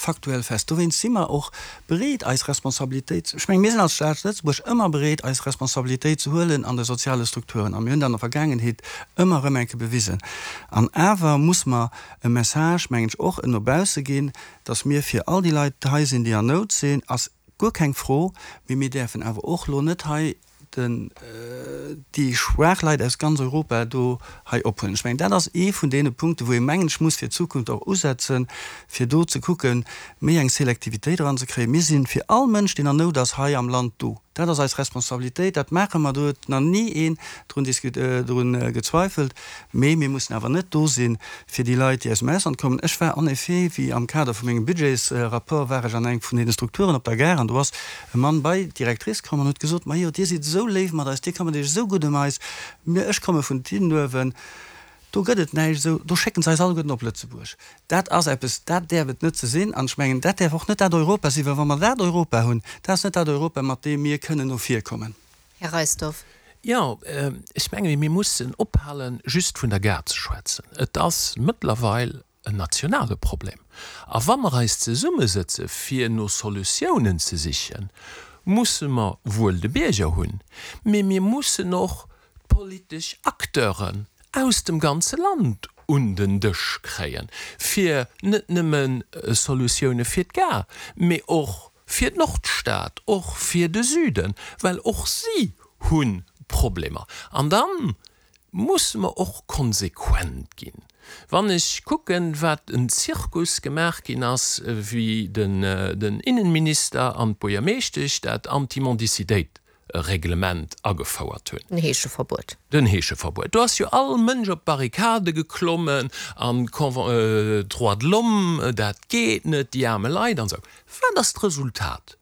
faktuell fest. Dowéinst si mer och bereet, eis Responsabilitéit, ech mengen, mir sinn als Stad Lëtzebuerg ëmmer bereet, eis Responsabilitéit ze huelen an de soziale Strukturen. A mir hunn dat an der Vergaangenheet ëmmer erëm eng Kéier bewisen. An awer muss mer e Message, mengen ech, och no bausse ginn, dass mir fir all déi Leit hei sinn, déi an Nout sinn, ass guer keng Fro, mee mir däerfen awer och elo net hei den, déi schwaach Leit aus ganz Europa do hei ophuelen. Ech mengen, dat ass ee vun deene Punkten, wou ee mengen ech muss fir d'Zukunft och usetzen, fir do ze kucken, méi eng Selektivitéit eranzekréien. Mir si fir all Mënsch, deen an Nout ass hei am Land do. Dat ass eis Responsabilitéit, dat maache mer. Do huet nach ni een drun drun gezweifelt. Mee mir mussen awer net do si fir déi Leit, déi aus dem Ausland kommen. Ech war en effet, wéi am Kader vu mengem Budgetsrapport, war ech an engem vun deene Strukturen op der Gare an do ass e Mann bei d'Directrice komm an huet gesot, Majo, Dir sidd esou léif mat eis, Dir këmmert Iech esou gutt ëm eis, mir, ech komme vun Tidenuewen, do gëtt et näischt esou, do schécken se eis alleguerten op Lëtzebuerg. Dat ass eppes, dat däerf et net ze sinn an ech mengen, dat däerf och net dat Europa sinn, well wa mer dat Europa hunn, dat ass net dat Europa, mat deem mir kënnen no vir kommen. Här Reisdorf. Jo, ech menge mir mussen ophalen, just vun der Gare ze schwätzen. Et ass mëttlerweil en nationale Problem. A wa mer eis zesummesëtze fir no Solutiounen ze sichen, musse mer wuel de Bierger hunn, mee mir mussen och d'politesch Acteuren aus dem ganze Land un den Dësch kréien, fir net nëmme Solutioune fir d'Gare, mee och fir d'Nordstad, och fir de Süden, well och si hu Problemer. An da musse mer och konsequent ginn. Wann ech kucken, wat en Zirkus gemaach ginn ass, wéi den Innenminister an d'Buergermeeschtesch dat Anti-Mendicitéit-Reglement agefouert hunn. Den Heescheverbuet. Den Heescheverbuet. Do ass jo all Mënsch op d'Barrikade geklommen an d'Droits de l'homme, dat geet net, déi aarme Leit an esou. Wat ass d'Resultat?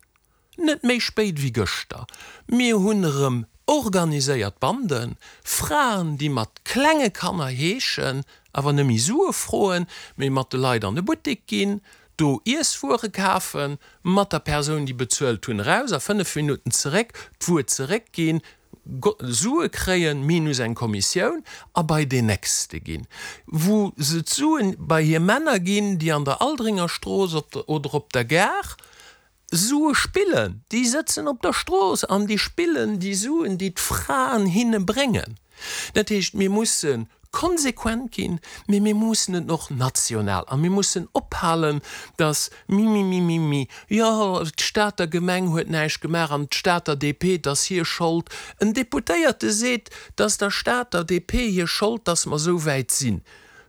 Net méi spéit wéi gëschter, mir hunn erëm organiséiert Banden, Fraen, déi mat klenge Kanner heeschen, awer nëmme Sue froen, mee mat de Leit an de Buttek ginn, do Iesswuere kafen, mat der Persoun, déi bezuelt hunn, eraus a 5 Minutten zeréck, d'Wuer zeréckginn, Sue kréien, minus eng Kommissioun, a bei deen nächste ginn, wou se d'Suen bei hir Männer ginn, déi an der Aldringerstrooss oder op der Gare Sue spillen, déi sëtzen op der Strooss an déi spillen déi Suen, déi d'Fraen hinne bréngen. Dat heescht, mir musse konsequent ginn, mee mir mussen et och national a mir mussen ophalen, datt mimimimimi, jo d'Stater Gemeng huet näischt gemaach an d'Stater DP, 't ass hir Schold. En Deputéierte seet, 't ass der Stater DP hir Schold, datt mer esou wäit sinn.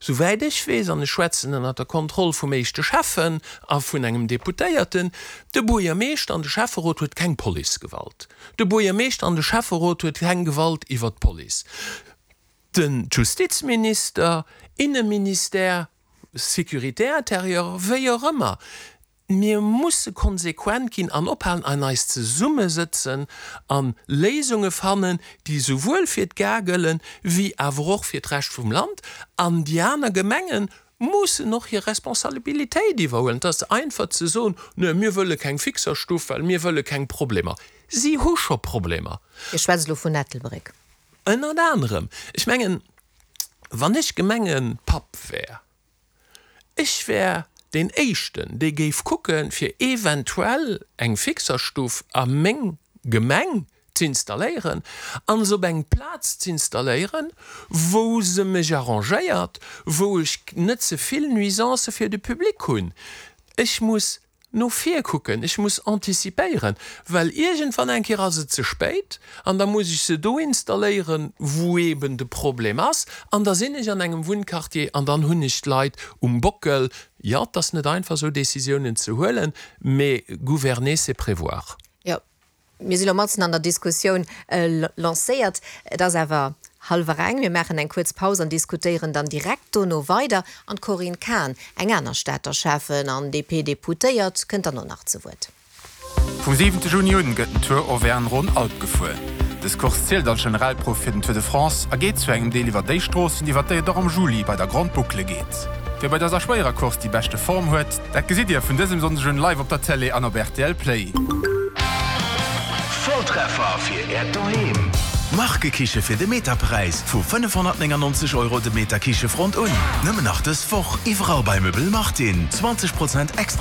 Souwäit ech weess, an ech schwätzen ënner der Kontroll vum éischte Schäffen a vun engem Deputéierten, de Buergermeeschter an de Schäfferot huet keng Policegewalt. De Buergermeeschter an de Schäfferot huet keng Gewalt iwwer d'Police. Den Justizminister, Inneministère, Sécurité intérieure, wéi och ëmmer, Mir musse konsequent ginn an ophalen an eis zesummesëtzen a Léisunge fannen, déi souwuel fir d'Gare gëllen, wéi awer och fir d'Rescht vum Land. An déi aner Gemenge mussen och hir Responsabilitéit iwwerhuelen. Et ass einfach ze soen, Nö, mir wëlle keng Fixerstuff, well mir wëlle keng Problemer. Si hu scho Problemer. Dir schwätzt elo vun Ettelbréck. Ënnert anerem. Ech mengen, wann ech Gemengepapp wär, Ech wär deen éischten, dee géif kucken, fir eventuell eng Fixerstuff a meng Gemeng z'installéieren an se op eng Plaz z'installéieren, wou se mech arrangéiert, wou ech net ze vill Nuisancë fir de Public hunn. Ech muss no vir kucken, ech muss anticipéieren, well iergendwann eng Kéier ass et ze spéit an da muss ech se do installéieren, wou eeben de Problem ass an da sinn ech an engem Wunnquartier an dann hunn ech d'Leit um Bockel. Jo, et ass net einfach esou Décisiounen ze huelen, mee gouverner c'est prévoir. Jo, Mir si lo matzen an der Diskussioun lancéiert. Et ass awer hallwer eng. Mir maachen eng kuerz Paus an diskutéieren dann direkt dono weider. An d'Corinne Cahen, eng aner Stater Schäffen an DP-Deputéiert, kënnt dann och nach zu Wuert. Vum siwente Juni un gëtt den Tour Auvergne-Rhône-Alpes gefuer. Dës Course zielt als Generalprouf fir den Tour de France a geet zu engem Deel iwwer déi Stroossen, iwwer déi et och am Juli bei der Grande Boucle geet. Wie bei dëser schwéierer Course déi beschte Form huet, Dat gesitt Dir vun dësem Sonndeg un live op der Télé an op rtl Play. Volltreffer fir Äert Doheem! Markekiche fir de Meterpräis vu 599 Euro de Meter Kichefront un. Nëmmen nach dës Woch iwwerall bei Möbel Martin. 20 Prozent extra.